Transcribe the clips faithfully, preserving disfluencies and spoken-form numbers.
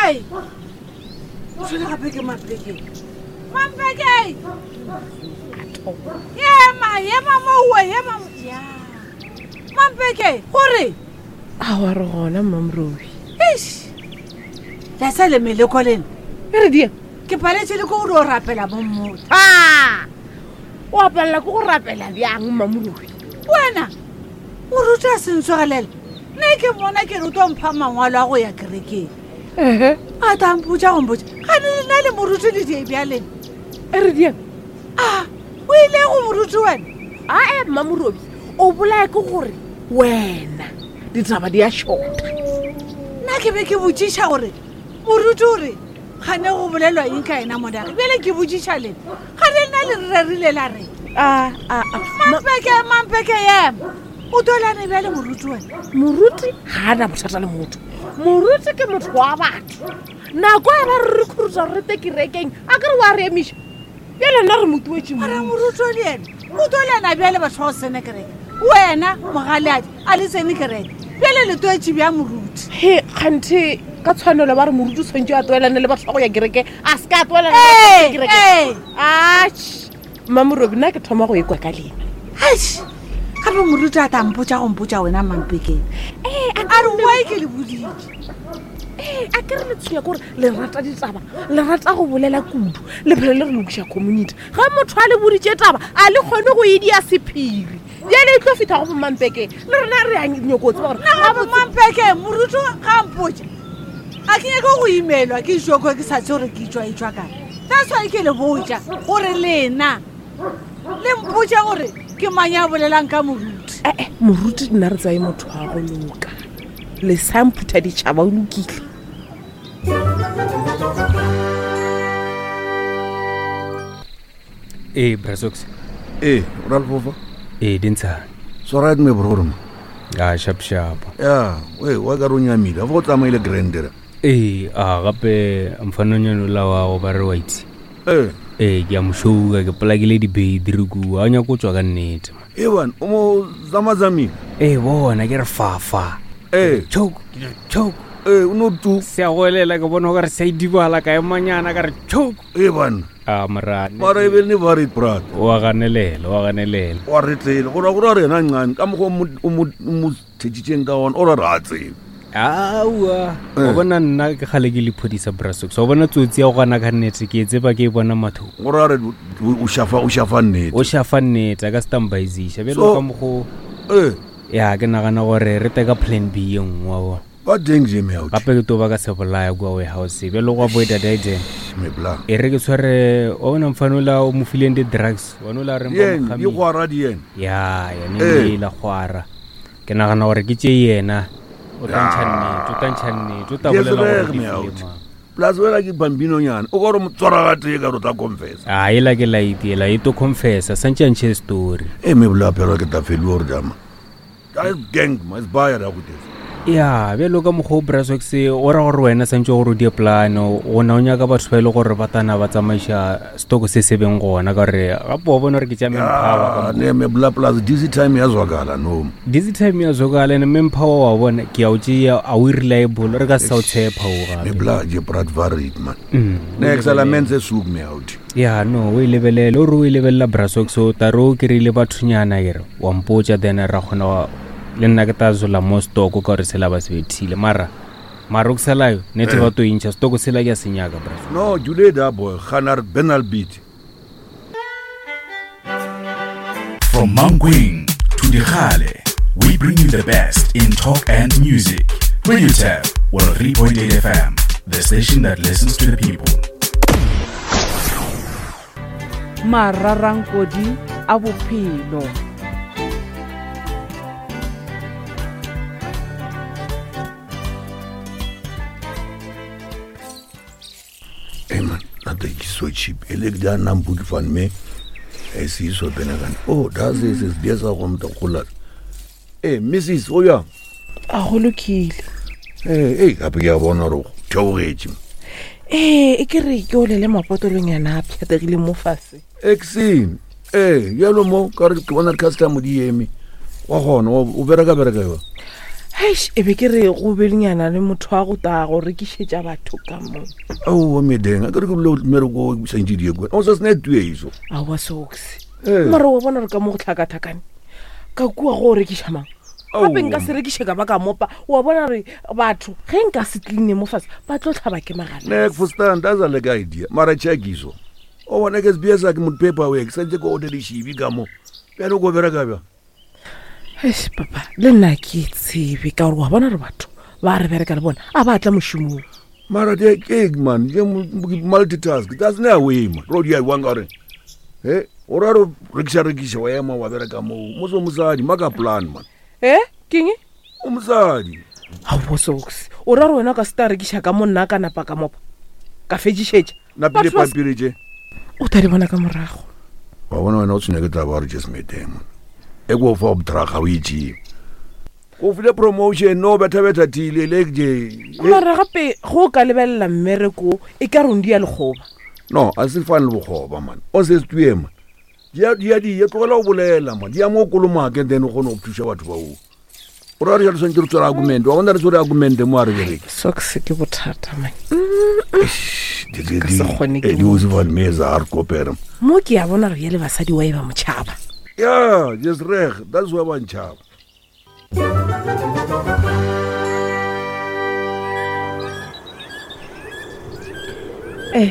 Mampeke! O tshwele gape ke Mampeke. Mampeke! Ema, ema mo, ema mo. Ya. Mampeke, gore? A wa re gona Mamrobi. Eish. La sa le meleko lena. E re dia. Ke paletse le ko gore o rapela mo motho. Ah! O apalela ke go rapela bjang Mamrobi? Wena o ruta sentsogelela. Nne ke mona ke re o tlo mpha mangwalo a go ya kerekeng. Ehe. A ta mpotša go mpotša. Ga ne nna le moruti le die bjaleng. E re dia. Ah, o ile go moruti wena? Ae Mamrobi, o bolaya ke gore wena ditaba di a shota. Nna ke be ke botšiša gore moruti o re gane go bolelwa eng ka ena monage. Bjale ke botšiša lena. Ga le nna le rerile la re. Ah, ah, ah. Mampeke, Mampeke ema. O tolane bjale moruti wena. Moruti ga a na bothata le motho. Moruti ke motho wa batho. Nako e ba re re khurusa re te kerekeng, a ke re wa re emiša. Bjale nna re mo tuetše Mara moruti o le yena, o tolana bjale batho ba go sene kereke. Wena mogaleadi a le tsene kereke. Bjale le toetše bja moruti. He, kganthe ka tshwanelo ba re moruti o tshwanetse a toelane le batho ba go ya kereke, a se ka a toelana le batho ba go ya kereke. Ee, Atjhe, Mamrobi nna ke thoma go ekwa ka lena. Eish, gape moruti a ta mpotša go mpotša wena Mampeke. Ee, A re why ke le boditše. Ee, a ke re le tshwenya ke gore le rata ditaba, le rata go bolela kudu, le phela le re lokiša community. Ga motho a le boditše taba, a le kgone go e dia sephiri. Bjale e tlo fihla go bo Mampeke, le rena re a nyako tseba gore Nna gape Mampeke, moruti ga mpotša. A ke nyake go imelwa ke joko ke sa tse gore ke tšwa e tšwa kae. That's why ke le botša gore lena le mpotše gore ke mang ya bolelang ka moruti. Eh, eh, moruti nna re tsaye motho wa go loka. Le sa mphutha ditšhaba o lokile. Ee, Brasox. Ee, Ralfofa. Ee, Dintshane. Swara me bro ma. Ah, sharp sharp. Ya, we wa ka ro nyamile. A go tsamaile grand ra. Ee, a gape mfanonyana la wa go ba re wa itse. Ee. Ee, ke a mo shouka, ke polakile dibedi kua, a nyaka go tswa ka nnete. Ee bana, o mo zamazamile. Ee, bona ke re fa fa. Ee. Choke, ke re choke. Ee, o no tu. Se a goelela ke bona o ka re se a idibala ka emanyana ka re choke. Ee bana. A mara. Mara e be le ba re brother. Wa ganelela, wa ganelela. Wa re tlele, go ra go re yena ncane ka mokgwa o mo o mo thetsitseng ka ona, o ra re a tsebe. Aowa, wa bona nna ke kgale ke le phodisa Brasox. Wa bona tsotsi ya go gana ka nnete ke e tseba ke e bona mathoko. Go ra re o shafa o shafa nnete. O shafa nnete a ka stambaizisha. Bjalo ka mokgo. Eh. Ya ke nagana gore re teka plan B ye nngwe wa bona. Ba deng je me out. Gape ke to ba ka se bolaya kua warehouse. Bjalo go avoid that. Me bla. E re ke tshware wa bona mfano la o mo fileng di-drugs. Wa no la re Yen, di gwara di yen. Ya, yene e la gwara. Ke nagana gore ke tše yena. O tla ntšha nnete, o tla ntšha nnete, o tla bolela gore di file mang. Plus wena ke bambino nyana, o ka re motswara ga tee ka re o tla confessa. Ah, ela ke light ela, e to confessa, santse a ntšhe story. E me bla phela ke tla feliwa gore jama. That is gang, ma is buyer ya go tesa. Ya, bjalo ka mokgwa o Brasox, o ra gore wena santse gore o die plan, gona o nyaka batho ba e le gore ba tana ba tsamaiša stock se se beng gona ka gore gape wa bona gore ke tša manpower ka Ne me bla plus busy time ya zwakala no. Busy time ya zwakala ne manpower wa bona ke a o tšea a o reliable re ka sa o tshepa o gape. Me bla je brat varit man. Next element se sug me out. Ya no, o e lebelele, o re o e lebelela Brasox o tla re o kry-ile bathonyana ke re wa mpotša then ra kgona le nna ke tla zola mo stock ka gore sela ba se bethile mara mara o ke selayo nete ba to intšha stock sela ke a se nyaka bra. No, Julie da boy, Ganar Benal beat. From Mankweng to Dikgale, we bring you the best in talk and music. Radio Tab, one oh three point eight F M, the station that listens to the people. Mararankodi a bophelo. Hey man, that is so cheap. Elek da nampu ke fan me. E se so benagana. Oh, that's is is biasa go mta gola. Eh, Missus o ya. A go lokile. Eh, eh, gape ke a bona gore theogetše. Eh, e ke re ke olele mapotolong yana a pšhategile mo fase. Exin. Eh, yalo mo ka re ke bona customer di eme. Wa gona o bereka bereka yo. Heish, e be ke re go belenyana le motho wa go taa go rekišetša batho ka mo. Aowa medeng a ke re ke bole mmereko o santse die kwe o sa sena tueiso. Aowa Sox. Ee. Mara wa bona re ka mo go tlhakatlhakane ka kua go o rekiša mang? Gape nka se rekiše ka ba ka mopa. Wa bona re batho ge nka se tline mo fase ba tlo tlhaba ke magala. Nek verstaan, that's a lekker idea. Mara check iso. O bona ke sbs ke mot paperwork santse ko order dišibi ka mo. Bjale ko bereka bjang? Eish, papa le nna ke tsebe ka gore wa bona re batho ba re bereka le bona a ba tla mošomong. Mara ke ke man, ke multitask. That's no way man. Ro di a wang gore. He, o ra re rekiša rekiša wa ema wa bereka mo. Mo so mosadi maka plan man. E keng? O mosadi. Aowa Sox, o ra re wena o ka se ta rekiša ka mo nna ka napa ka mopa ka fetšišetša. Napile Batho ba se- pampiri tše. O tla di bona ka morago. Wa bona wena o tshwenya ke taba gore just medeng man. E ko fa obtraga o itše. Go file promotion no betha betha tile le je. Mara gape go o ka lebelela mmereko e ka reng di ya lekgoba. No, a se fane le bokgoba man. O se stue man. Di a di a di tlogela go bolela man. Di ya mo kolomake then o kgone go thuša batho ba o. O ra re jalo tshwanetse re tshware argument. Wa bona re tshware argument mo a re bereke. Sox ke bothata man. Di di Ka se kgone ke di o se van meza a re kopere. Mo ke a bona re ye le basadi wa e ba motšhaba. Yeah, just reg. That's why ba ntšhaba. Eh.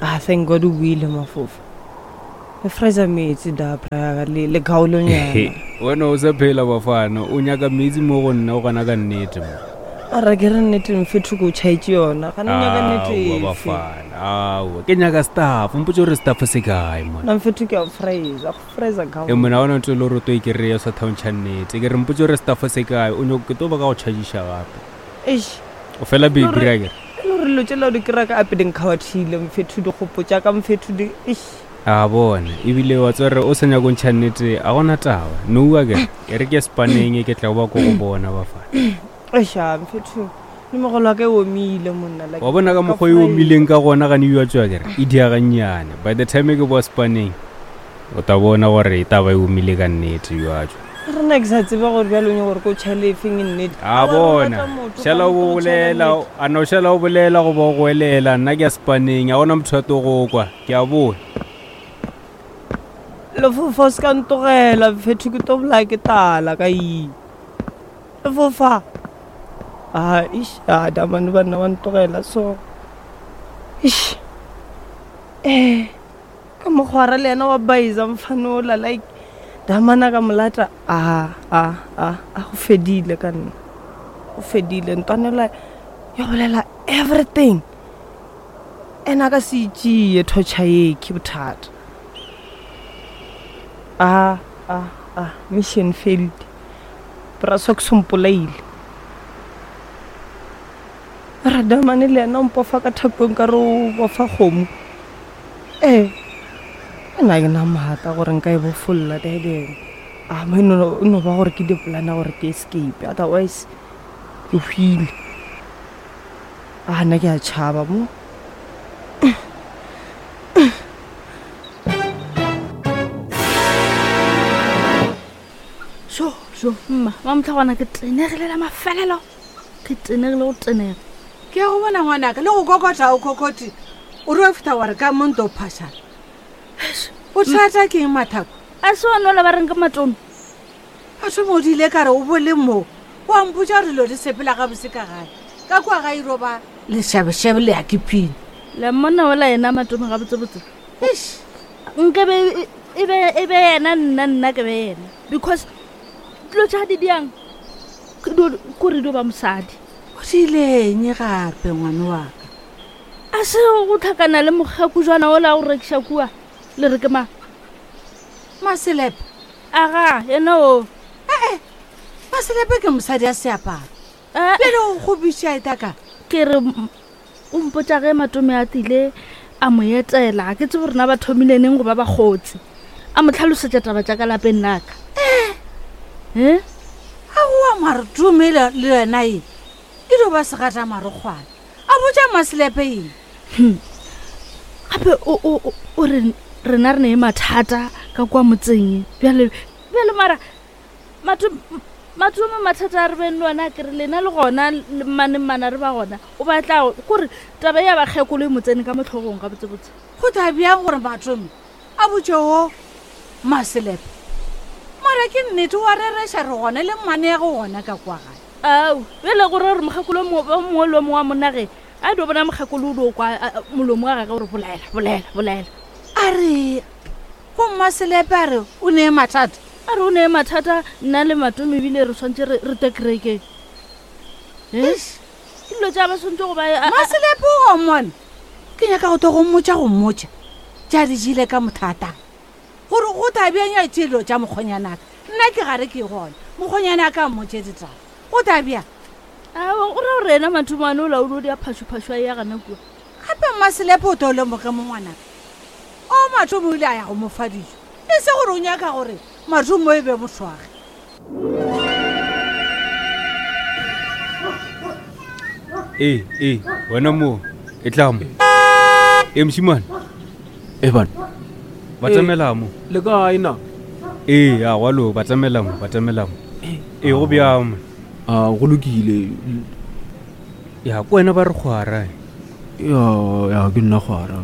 Ah, thank God o buile mafofa. Le freeza metsi da bra le le gaolonyana. Wena o sa phela bafana o nyaka metsi mo go nna o gana ka nnete mo. Ara ke re nnete mfethu ko tšhaetše yona. Ga ne nyaka nnete Aowa, efe. bafana aowa ke nyaka staff mpotse gore staff se kae mona. Nna mfethu ke a freeza, go freeza E gaolo. mona ona ntse le gore o to e kry-a sa thaontšha nnete ke re mpotse gore staff se kae o nyako ke tlo ba ka go chargiša gape. Eish. O fela baby ra kere. E le gore dilo tšela o di kry-a ka ape di nkgawathile mfethu dikgopo tša ka mfethu di eish. A bona ebile wa tseba gore o sa nyako ntšha nnete a gona taba noua kere e re ke spaneng ke tla go ba ko go bona bafana. Eish, ah, mfethu le mogolo wa ka e omile monna like Wa bona ka ka mokgwa e freeza. omileng ka gona gane e tswa kere e diagannyane by the time ke boa spaneng o ta bona gore e taba e omile ka nnete yo tswa. Rena ke sa tsebe gore bjalo o nyaka gore ko tšhale efeng e nnete. A Aowa, re bona rata motho, šala ga o re tlo tšhaela bolela nnete. a no šala o bolela goba o goelela nna ke a spaneng a gona motho a to go kwa ke a boa. Lefofa o se ka ntogela mfethu ke tlo bolaya ke tala ka eng. Lefofa. Ah, eish, ah, damane banna ba ntogela so. Eish. Eh, ka mokgwara le yena wa baisa mfanola like damana ka molata ah ah ah ah go fedile ka nna. Go fedile ntwanela ya bolela everything. Ena a ka se itšee torture ye ke bothata. Ah ah ah mission failed. Bra Sox o mpolaile. Radamane le yena o mpofa ka thapong ka re o bofa kgomo. Ee, nna ke na maatla gore nka e bofolla daddy. Ah, mo e no e no ba gore ke di-plan-a gore ke escape otherwise ke hwile. Ah, nna ke a tšhaba mo. So, so, mma, wa motlhagwana ke tenegile la mafelelo. Ke tenegile go tenega. Ke ya go bona ngwanaka le go kokota o kokoti o re o feta wa re ka mo nto phašana. O thata ke eng mathako? A se one ola ba reng ke matome. A thoma o dile ka re o bole mo. Wa mpotša gore dilo di sepela gabotse ka gae. Ka kua ga iro ba lešabešabe le ya ke phine. Le mmona ola yena matome gabotsebotse. Eish. Nka be e- e be e be yena nna nna ke be yena. Because dilo tša di diang ke dio- kore dio ba mosadi. O diileng gape ngwane wa ka? A se go tlhakana le mokgako jwana ola go rekiša kua le re ke mang? Maselepe. Aga, yena o. Ee, Maselepe ke mosadi a seaparo. Eh, Bjale o kgopiša e taka. Ke re m- o mpotša ge matome a tile a mo etela ke tsebe rena ba thomile neng go ba bakgotsi. A mo tlhalosetša taba tša ka lapeng laka. Eh? Aowa mare tume le le yena e e dio ba segata marokgwana. A botša Maselepe eng? Hmm. Gape o o o- o re rena re ne mathata ka kwa motseng. Bjale bjale mara matome Mathomo mathata a re beng le ona ke re lena le gona le mmane mmana re ba gona o batla kore taba ya bakgekolo e mo tsene ka motlhogong ga botsebotse. Go tla bjang gore Matome a botse o Maselepe? Mara ke nnete wa rereša re gona le mmane ya go gona ka kwa gae. Ao bjale gore gore mokgekolo o mongwe le o mongwe wa monnage a dio bona mokgekolo o dio kwa molomo wa gage gore bolaela bolaela bolaela. A re go Mmaselepe a re o nee mathata. A re o nee mathata nna le Matome ebile re tshwanetse re te kerekeng. Dilo tša ba tshwanetse go ba Maselepe o gomone ke nyaka go to go mmotša go mmotša tša di jele ka mothatang gore go tabjang ya tšelo tša mokgonyanaka nna ke gare ke gona mokgonyanaka a mmotše ditaba go tabjang. Ao o ra gore yena Mathomane o laolo di a phašophašo a ya gana kua. Gape Mmaselepe o to lemoge mo ngwanaka o Matome o ile a ya go mo fa dijo e se gore o nyaka gore Matome e be mothwage. Ee ee wena mo e tla mo e mošimane e bana ba tsamela mo le kae na? Ee a gwalo ba tsamela mo ba tsamela mo ee go bjang? A go lokile. Ya ko wena ba re kgwara. Ya ya ke nna kgwara.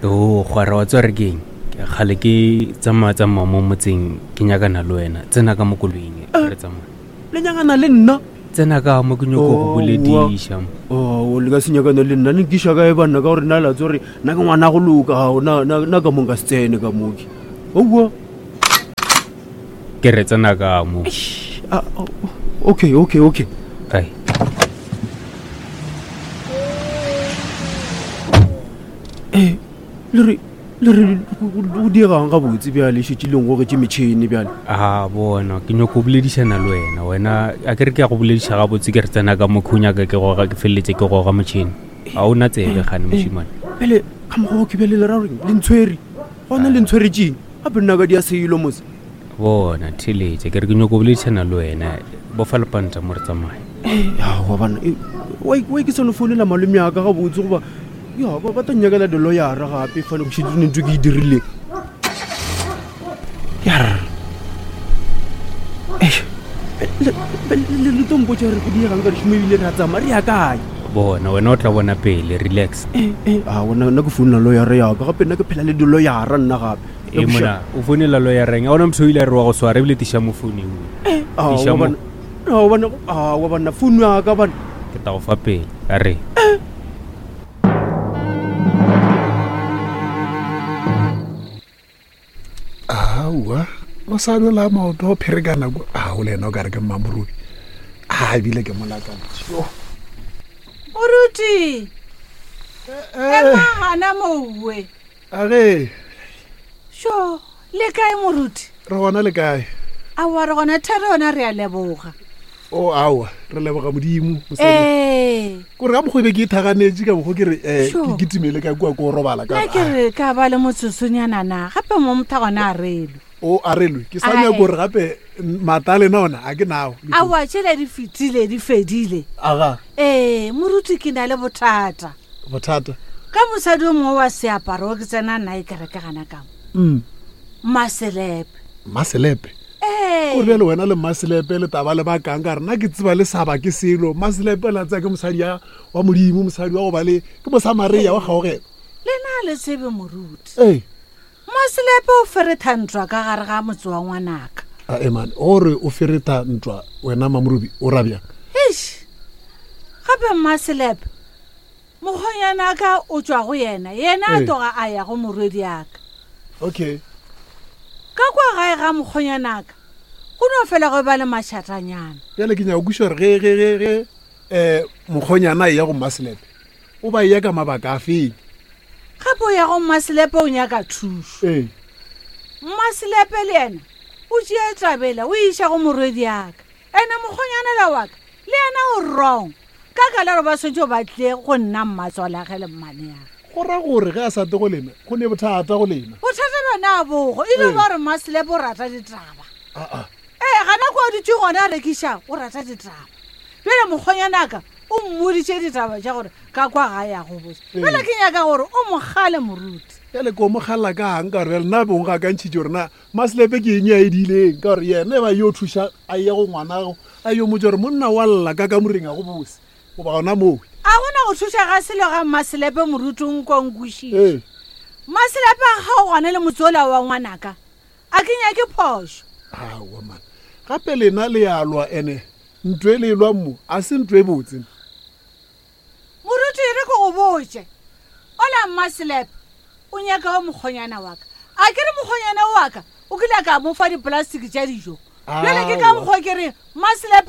O kgwara wa tswa re keng? Kgale ke tsamaya tsamaya mo motseng ke nyakana le wena tsena ka mo koloing re tsamaya. Le nyakana le nna? Tsena ka mo ke nyoko go bolediša. O le ka se nyakana le nna ne nkiša kae banna ka gore nna la tsore nna ke ngwana go loka na na ka mo nka se tsene ka moke. Oua ke re tsena ka mo. Okay okay okay. Ai eh le re le re go diegang gabotse bjale šetše leng gogetše metšhene bjale. A bona ke nyako boledišana le wena wena a ke re ke ya go bolediša gabotse ke re tsena ka mokho o nyaka ke goga ke feleletse ke goga motšhene ga o na tsebe gane mošimane. Bjale ka mokgwa ke bjale le ra goreng le ntshwere gona le ntshweretšeng gape nna ka dia selo mose. Bona theletše ke re ke nyako boledišana le wena bofa lepanta mo re tsamaye. Aowa bana wa ke sano founela malome yaka gabotse goba ya ba ba tla nnyakela diloyara gape fane go šetše ntho ke e dirileng. Yar le tlo mpotša gore go diegang ka dišomo ebile re a tsamaya re ya kae? Bona wena o tla bona pele relax. Aowa nna ke founela loyara yaka gape nna ke phela le diloyara nna gape. E mona o founela loyareng a ona motho o ile a re wa go swara ebile tiša mo foune eo. Tiša mo. Aowa banna founu yaka bana. Ke tla go fa pele a re. Aowa mosadi la maoto o pherekana ko ao le ena o kare ke mmamorubi a ebile ke molakantšho. Moruti ema gana mowe. Age sho le kae moruti? Re gona le kae? Aowa re gona thare yona re a leboga. O aowa re leboga modimo. Ee kore ka mokgwa e be ke ithaganetše ka mokgwa ke re um ke kitimele ka kua ko robala ka. Nna ke re ka ba le motsotsonyana na gape mo motho gona a relwe. O a relwe ke sa nyako gore gape mata a lena ona a ke nao. Aowa tšhele di fetile di fedile. Aga ee moruti ke na le bothata. Bothata? Ka mosadi o mongwe wa seaparo ke tsena nna e kereke gana ka mo. Maselepe. Maselepe? O re bjale wena le Maselepe le taba le bakang ka re nna ke tseba le saba ke selo. Maselepe la tsaya ke mosadi wa modimo mosadi wa go ba le ke mosamaria wa kgaogelo. Le na le tsebe moruti. Ee Maselepe o feretha ntwa ka gare ga motse wa ngwanaka. A eman gore o feretha ntwa wena Mamorubi o ra bjang? Eish gape Maselepe mokgonyanaka o tšwa go yena yena a toga a ya go morwedi yaka. Okay ka kwa gae ga mokgonyanaka go no fela go ba le mašatanyana. Bjale ke nyaka kweša gore ge ge ge ge um mokgonyana e ya go Maselepe o ba e ya ka mabaka a feng? Gape o ya go Maselepe o nyaka thušo. Ee Maselepe le yena o tšea tabela o iša go morwedi yaka ene mokgonyana la waka le yena o wrong ka ka la gore ba swantse ba tle go nna mmatswalage le mmane yaka. Go ra gore ge a sa te go lena go ne bothata go lena. Bothata bjona bogo e le ba gore Maselepe o rata ditaba. Aa ee gana kwa o dutše gona a rekiša o rata ditaba. Bjale mokgonyanaka o mmoditše ditaba tša gore ka kwa ga ya go botse. Bjale ke nyaka gore o mogale moruti. Bjale ko mo kgalela ka ang ka gore bjale nna bong ga ka ntšhitše gore na maselepe ke eng ya e diileng ka gore yena e ba yo thuša a ye go ngwanago a yo motse gore monna wa lla ka kamoreng a go bose goba gona moo. A gona go thuša ga selo ga mmaselepe moruti o nkonkošitše. Ee. Mmaselepe a kgaogane le motse ola wa ngwanaka, a ke nyake phošo. Aowa man, gape lena le ya lwa ene ntho e le e lwang mo a se ntho e botse. Moruti e re ke go botse, ola mmaselepe o nyaka wa mokgonyana wa ka, a ke re mokgonyana wa ka o kile a ka mo fa dipolastiki tša dijo, bjale ke ka Aowa. mokgwa ke re mmaselepe